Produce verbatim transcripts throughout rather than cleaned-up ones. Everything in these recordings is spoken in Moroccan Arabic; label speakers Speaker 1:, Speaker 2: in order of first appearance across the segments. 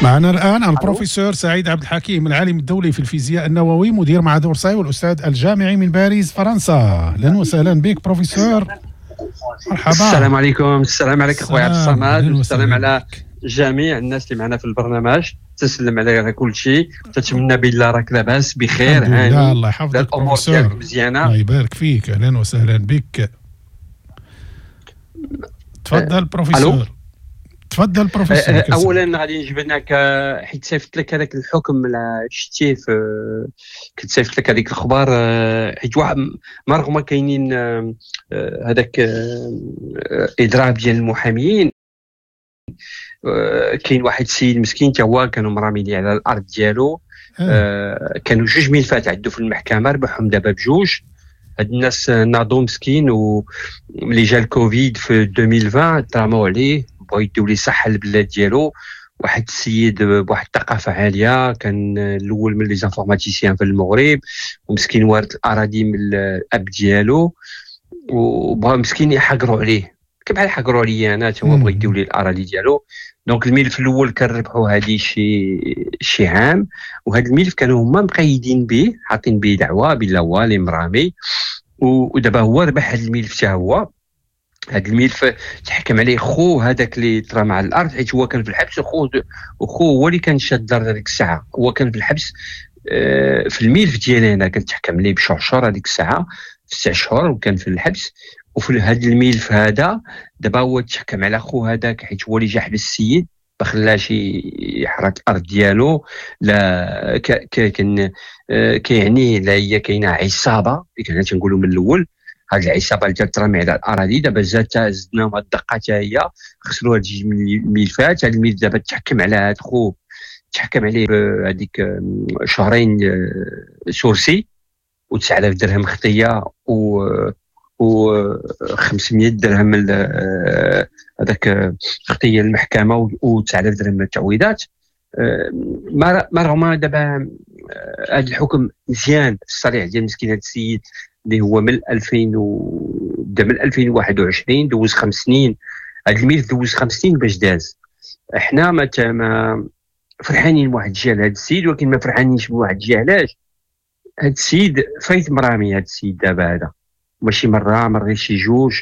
Speaker 1: معنا الآن البروفيسور سعيد عبد الحكيم، العالم الدولي في الفيزياء النووي، مدير معهد أورساي والأستاذ الجامعي من باريس فرنسا. أهلا وسهلا بك بروفيسور، مرحبا.
Speaker 2: السلام عليكم. السلام عليك اخويا عبد الصمد، والسلام على جميع الناس اللي معنا في البرنامج. تسلم على كل شيء، تتمنى بالله راك لاباس بخير.
Speaker 1: هاني الله يحفظك.
Speaker 2: الامور ديالك مزيانه؟
Speaker 1: الله يبارك فيك، اهلا وسهلا بك. تفضل بروفيسور. تفضل بروفيسور.
Speaker 2: اولا غادي نجبد لك، حيت صيفط لك هذاك الحكم شتيه، كنت صيفط لك هذيك الخبر، حيت واحد ما رغم كاينين هذاك اضراب ديال المحاميين، كاين واحد السيد مسكين تا هو كانوا مراميين على الارض ديالو. آه. كانوا جوج ملفات عندو في المحكمة، ربحهم دابا بجوج. هاد الناس ناضو مسكين، وملي جا الكوفيد في ألفين وعشرين تراماو عليه، بغاو يديو ليه صحة البلاد ديالو. واحد السيد بواحد الثقافة عالية، كان الاول من les informaticiens في المغرب، ومسكين وارث الاراضي من الاب ديالو، وبغا مسكين يحقروا عليه كيف بحال حقروا عليا انا، تا هو بغا يديو لي الاراضي ديالو. donc الملف الاول كنربحوا هذه شي شي عام، وهذا الملف كانوا هما مقيدين به، حاطين به دعوه بلا هو اللي مرامي، ودابا هو ربح هذا الملف حتى هو. هذا الملف تحكم عليه خو هذاك اللي ترى مع الارض، حيت هو كان في الحبس، وخو وخو هو اللي كان شاد الدار هذيك الساعة، هو كان في الحبس. في الملف ديالي انا كنت تحكم عليه بشهر شهر هذيك الساعة، في تسع شهور، وكان في الحبس. وفي هذا الملف هذا دابا هو تحكم على خو هذاك، حيت هو اللي جا حبس السيد، ما خلاش يحرق الارض ديالو. لا كان كيعني لا هي كاينه عصابة اللي كنا تنقولوا من الاول، هاد العصابة اللي ترمي على الاراضي. دابا زاد زدناهم هاد الدقة حتى هي، خسروا هاد جوج الملفات. هاد الملف دابا تحكم على هاد خو، تحكم عليه بهذيك شهرين sursis وتسعة آلاف درهم خطيه و و خمسمية درهم هذاك خطيه المحكمة و تسعة آلاف درهم التعويضات. ما رغم دابا هذا الحكم مزيان الصريح ديال مسكين هذا السيد اللي هو من ألفين و بدا من ألفين وواحد وعشرين، دوز خمس سنين هذا الملف، دوز خمس سنين باش داز. احنا ما ما فرحانين بواحد الجهة لهذا السيد، ولكن ما فرحانينش بواحد الجهة. علاش؟ هذا السيد فايت مرامي، هذا السيد دابا هذا ماشي مرة مرة شي جوج،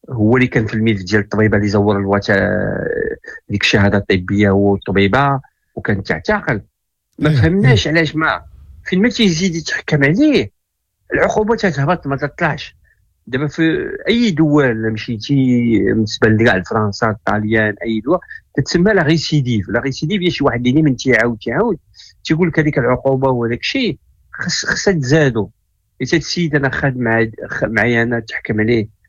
Speaker 2: هو اللي كان في الملف ديال الطبيبة اللي زور الوثائق ديك الشهادة الطبية هو الطبيبة، وكان تعتقل. ما فهمناش علاش ما فين ما تيزيد يتحكم عليه العقوبة تتهبط ما تطلعش. دابا في اي دول مشيتي بالنسبة لكاع فرنسا الطاليان اي دول تتسمى la récidive. la récidive هي شي واحد اللي من تيعاود تيعاود تيقول لك هذيك العقوبة وهذاك الشيء خص خصها تزادو. حيت هذا السيد انا خاد مع معايا انا تحكم عليه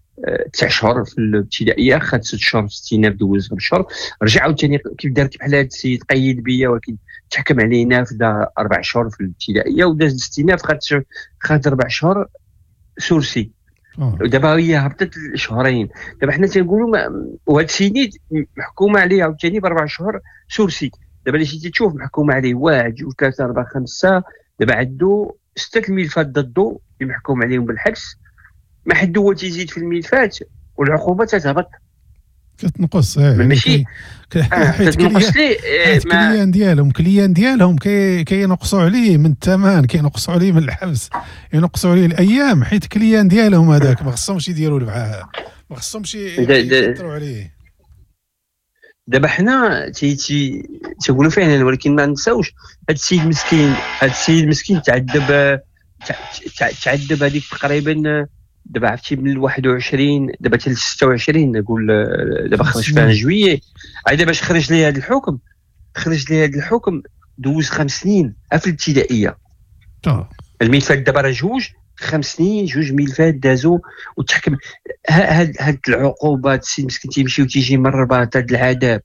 Speaker 2: تسع شهور في الابتدائية، خاد ست شهور في الاستئناف، دوز خمس شهور، رجع عاوتاني كيف دارت بحال هذا السيد قيد بيا، ولكن تحكم عليه نافذة اربع شهور في الابتدائية، وداز الاستئناف خاد خاد اربع شهور sursis. ودابا هي هبطت شهرين. دابا حنا تنقولوا وهذا السيد محكومة عليه عاوتاني باربع شهور sursis. دابا اللي جيتي تشوف محكومة عليه واحد جوج ثلاثة اربعة خمسة، دابا عندو ستة الملفات ضده اللي محكوم عليهم بالحبس. ما حد هو تيزيد في الملفات والعقوبة تتهبط
Speaker 1: كتنقص. اه
Speaker 2: ماشي
Speaker 1: حيت لي client ديالهم client ديالهم كينقصوا عليه من الثمن، كينقصوا عليه من الحبس، ينقصوا عليه الايام، حيت client ديالهم هذاك ما خصهمش يديروا معاه، ما خصهمش يكثروا عليه.
Speaker 2: دابا حنا تي تي تيقولوا فعلا، ولكن ما نساوش هذا السيد مسكين، هذا السيد مسكين تعذب تعذب هذيك تقريبا. دابا عرفتي من واحد وعشرين دابا حتى ستة وعشرين، نقول دابا خرج فيها juillet، عاد باش خرج لي هذا الحكم، خرج لي هذا الحكم دوز خمس سنين في الابتدائية. الملفات دابا راه جوج خمس سنين، جوج ملفات دازو وتحكم. هاد هاد العقوبات السيد مسكين تيمشي وتيجي من الرباط، هاد العذاب،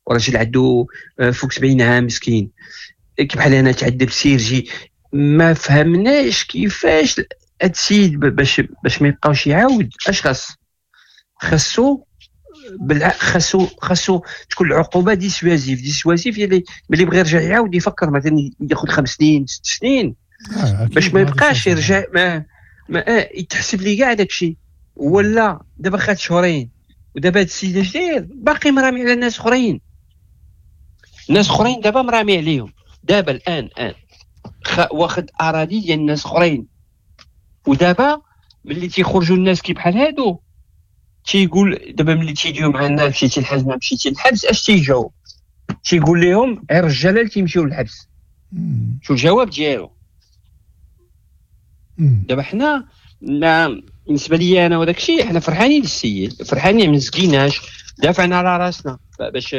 Speaker 2: وراجل عنده فوق سبعين عام مسكين بحال انا تعذب sursis. ما فهمناش كيفاش هاد السيد باش باش ما يبقاوش يعاود. اش خاص؟ خاصو بالع... خاصو خاصو تكون العقوبة dissuasive. dissuasive اللي ملي بغى يرجع يعاود يفكر مثلا ياخذ خمس سنين ست سنين آه باش ما يبقاش يرجع ما ما آه يتحسب لي كاع داك الشيء. ولا دابا خاد شهرين، ودابا هاد السيد اش داير؟ باقي مرامي على ناس اخرين. ناس اخرين دابا مرامي عليهم دابا الان الان واخد اراضي ديال الناس اخرين. ودابا ملي تيخرجوا الناس كي بحال هادو تيقول دابا ملي تيجيو مع الناس مشيتي للحبس ما مشيتي للحبس اش تيجاوب؟ تيقول لهم غير الرجالة اللي تيمشيو للحبس. شو الجواب ديالو؟ دابا حنا بالنسبة لي انا وداك الشيء حنا فرحانين للسيد، فرحانين ما مسكيناش، دافعنا على راسنا باش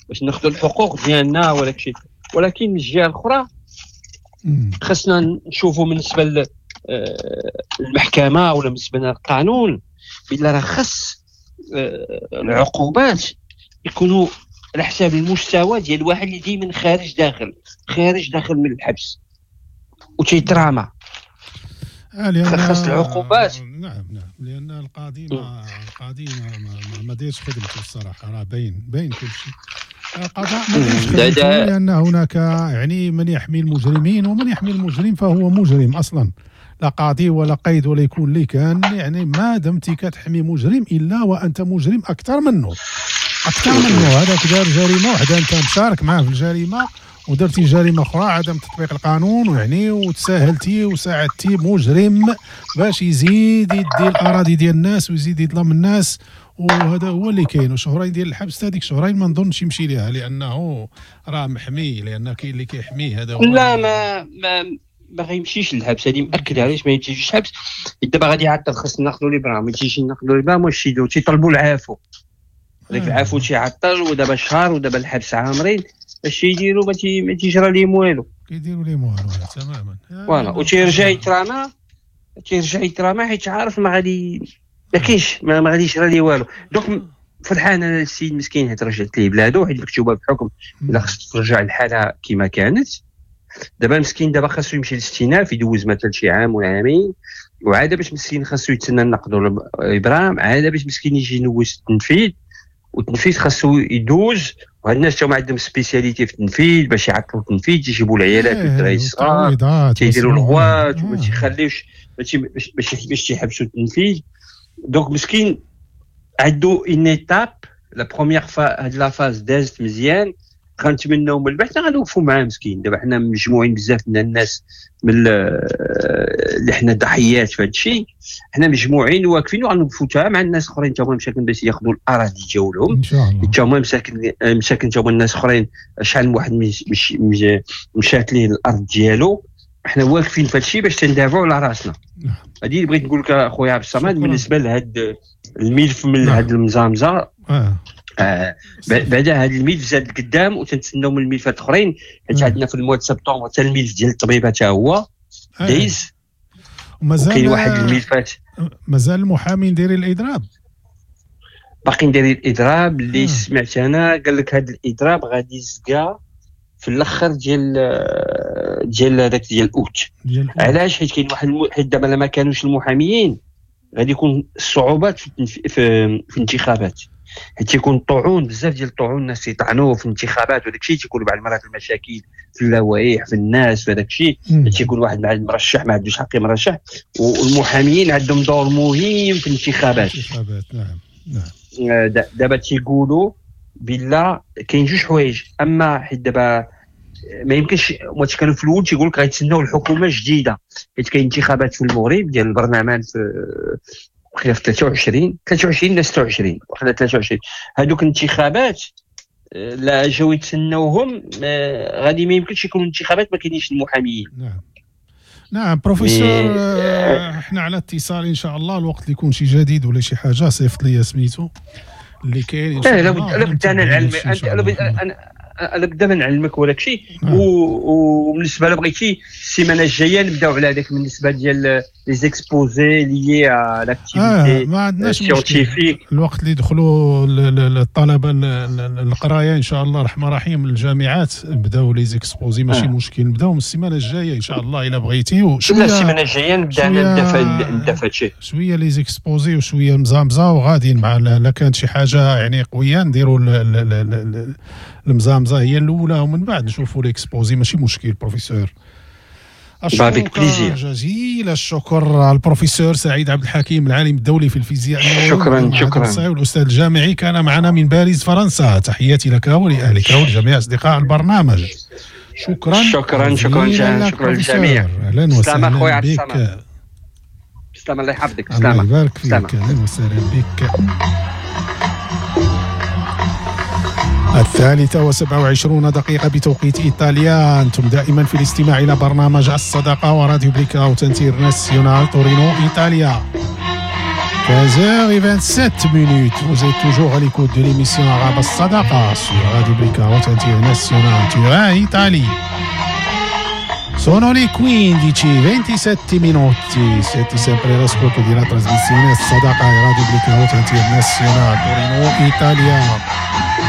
Speaker 2: باش ناخذوا الحقوق ديالنا وداك الشيء. ولكن من الجهة الاخرى خصنا نشوفوا بالنسبة للمحكمة ولا بالنسبة للقانون بلا راه خص العقوبات يكونوا على حساب المستوى ديال الواحد اللي ديما خارج داخل خارج داخل من الحبس وتيتراما.
Speaker 1: آه
Speaker 2: خاص العقوبات.
Speaker 1: نعم نعم، لان القاضي ما القاضي ما, ما, ما دايرش خدمته الصراحة، راه باين باين كل شيء. القضاء ما دايرش خدمته لان هناك يعني من يحمي المجرمين، ومن يحمي المجرم فهو مجرم اصلا، لا قاضي ولا قيد ولا يكون لي كان. يعني ما دمت كتحمي مجرم الا وانت مجرم اكثر منه، اكثر منه. هذاك دار جريمة وحده انت مشارك معاه في الجريمة، ودرتي جريمة اخرى عدم تطبيق القانون، ويعني وتساهلتي وساعدتي مجرم باش يزيد يدي الاراضي ديال الناس ويزيد يظلم الناس، وهذا هو اللي كاين. وشهرين ديال الحبس هذيك شهرين ما نظنش يمشي ليها لانه راه محمي، لان كاين اللي كيحميه. هذا هو.
Speaker 2: لا ما ما ما غيمشيش للحبس، هذه مأكد. علاش ما يمشيش للحبس؟ دابا غادي يعطل، خصنا ناخذوا لي برا، ما يمشيش ناخذوا لي برا، واش يديروا؟ تيطلبوا العفو، هذاك العفو تيعطل، ودابا شهر ودابا الحبس عامرين، اش يديروا؟ ما ما تيجرى لهم والو،
Speaker 1: كيديروا لهم والو تماما.
Speaker 2: voilà، وتيرجع يتراما، تيرجع يتراما حيت عارف ما غادي ما كاينش ما, ما غادي يجرى ليه والو. donc فرحان انا السيد مسكين حيت رجعت ليه بلادو، حيت مكتوبة بحكم الا خص ترجع الحالة كما كانت. دابا مسكين دابا خاصو يمشي للاستئناف يدوز مثلا شي عام ولا عامين، وعاده باش مسكين خاصو يتسنى النقد ابرام، عادة باش مسكين يجي ينوز التنفيذ، والتنفيذ خاصو يدوز. وهاد الناس تا هما عندهم spécialité في التنفيذ باش يعطلوا التنفيذ، تيجيبوا العيالات والدراري الصغار تيديروا الغوات وما تيخليوش باش باش باش تيحبسوا التنفيذ. donc مسكين عندو une étape، la première phase، هاد la phase دازت مزيان، غنتمناو من بعد غنوقفوا معاه مسكين. دابا حنا مجموعين بزاف من الناس من اللي حنا ضحيات في هذا الشيء، حنا مجموعين واقفين وغنوقفوا تا مع الناس اخرين تا هما مساكن باش ياخذوا الاراضي ديالهم
Speaker 1: ان شاء الله.
Speaker 2: تا هما مساكن مساكن تا هما الناس اخرين، شحال من واحد مش مشات ليه الارض ديالو. حنا واقفين في هذا الشيء باش تندافعوا على راسنا. هذه اللي بغيت نقول لك اخويا عبد الصمد بالنسبة لهذا الملف من هذا المزامزه.
Speaker 1: آه.
Speaker 2: آه بعدا هذا الملف زاد قدام، وتنتسناو من الملفات الاخرين، حيت عندنا في ال mois septembre حتى الملف ديال الطبيبة حتى هو دايز.
Speaker 1: ومازال
Speaker 2: كاين واحد الملفات
Speaker 1: مازال المحامين دايرين الاضراب،
Speaker 2: باقيين دايرين الاضراب. اللي آه. سمعت انا قال لك هذا الاضراب غادي يزكى في الاخر ديال ديال هذاك ديال اوت. علاش؟ حيت كاين واحد الم... حيت دابا ما كانوش المحاميين غادي يكون الصعوبات في التنف... في, في الانتخابات، حيت تيكون طعون بزاف ديال الطعون، الناس يطعنوا في الانتخابات وداك الشيء، تيكونوا بعض المرات المشاكل في اللوائح في الناس في هذاك الشيء، تيكون واحد مع المرشح ما عندوش حق يمرشح، والمحاميين عندهم دور مهم في الانتخابات.
Speaker 1: الانتخابات نعم نعم.
Speaker 2: دابا تيقولوا بلا كاين جوج حوايج، اما حيت دابا ما يمكنش ما كانوا في الاول تيقول لك غيتسناو الحكومة الجديدة، حيت كاين انتخابات في المغرب ديال البرلمان في وقيلا في ثلاثة وعشرين ثلاثة وعشرين ولا ستة وعشرين وقيلا ثلاثة وعشرين. هذوك الانتخابات لا جاو يتسناوهم غادي ما يمكنش يكونوا انتخابات ما كاينينش المحاميين.
Speaker 1: نعم نعم بروفيسور، احنا على اتصال ان شاء الله الوقت اللي يكون شي جديد ولا شي حاجة صيفط لي سميتو اللي كاين ان شاء الله.
Speaker 2: لا بد انا نعلمك، انا انا بدا ما نعلمك ولا شيء. وبالنسبة لا بغيتي السيمانة الجاية نبداو على هذاك بالنسبة ديال les exposés liés à l'activité scientifique.
Speaker 1: الوقت اللي يدخلوا الطلبة القراية ان شاء الله الرحمن الرحيم الجامعات نبداو les exposés ماشي آه. مشكل، نبداو من السيمانة الجاية ان شاء الله الا بغيتي.
Speaker 2: وشوية السيمانة الجاية نبدا نبدا نبدا في هادشي
Speaker 1: شوية les exposés وشوية مزامزه، وغاديين مع لا كانت شي حاجة يعني قوية نديروا المزامزه هي الاولى ومن بعد نشوفوا l'exposé ماشي مشكل بروفيسور. أشكرك جزيل الشكر البروفيسور سعيد عبد الحكيم، العالم الدولي في الفيزياء.
Speaker 2: شكرا شكرا.
Speaker 1: والأستاذ الجامعي كان معنا من باريس فرنسا. تحياتي لك ولأهلك ولجميع أصدقاء البرنامج. شكرا
Speaker 2: شكرا شكرا شكرا للجميع.
Speaker 1: أهلا وسهلا بك.
Speaker 2: سلام، الله يحفظك.
Speaker 1: سلام، الله يبارك فيك. أهلا وسهلا بك. الثالثة وسبع وعشرون دقيقة بتوقيت إيطاليا. أنتم دائما في الاستماع إلى برنامج الصداقة وراديو Blackout International تورينو إيطاليا. quinze heures vingt-sept minutes. Vous êtes toujours à l'écoute de l'émission Arabe Sadaqa sur Radio Blackout International Turin, Italie. Sono le quindici e ventisette minuti. Siete sempre all'ascolto della trasmissione Sadaqa e Radio Blackout International Torino, Italia.